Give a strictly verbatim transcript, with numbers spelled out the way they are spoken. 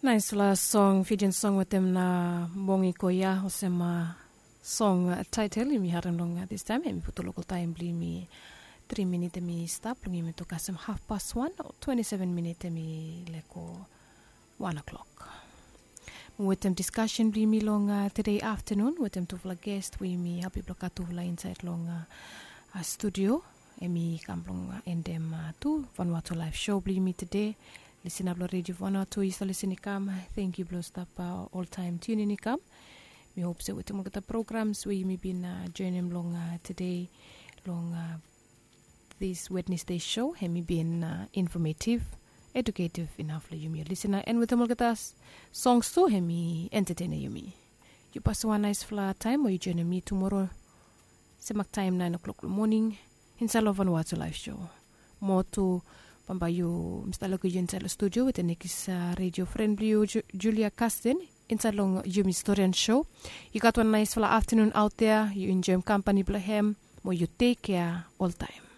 Naispela song, Fijian song wetem na Mongi Koya, olsem song taitel yumi harim long distaim, em i putum lokal taim bilong yumi tri minit em i stap long yumi tu kasem hafpas wan o twenti seven minit em i leko wan o'clock. Wetem diskasen bilong yumi long tede aftanun wetem tufala ges we yumi hapi blong gat tufala insait long studio, em i kam blong endem tu Vanuatu Live Show bilong yumi tede. Lisin ap long redio Vanuatu i sa lisin i kam. Tenkyu blong stap oltaim tunin i kam. Mi hop se wetem olgeta programs we yumi bin joinim long tede long this Wednesday show em i bin informative, educative inaf long yumi ol lisina, en wetem olgeta songs tu em i entertainer yumi. Yu pasim wan naispela taim o yu joinim mi tumora semak taim nain o'clock long moning insait long Vanuatu Live Show. Moa tu bambae yu mista lukim yu insait long studio wetem nekis redio fren bilong yu, Julia Kasten, insait long yumi Historian Show. Yu gat wan naispela aftanun aut dea, yu enjoim kampani bilong hem, mo yu tekkea oltaim.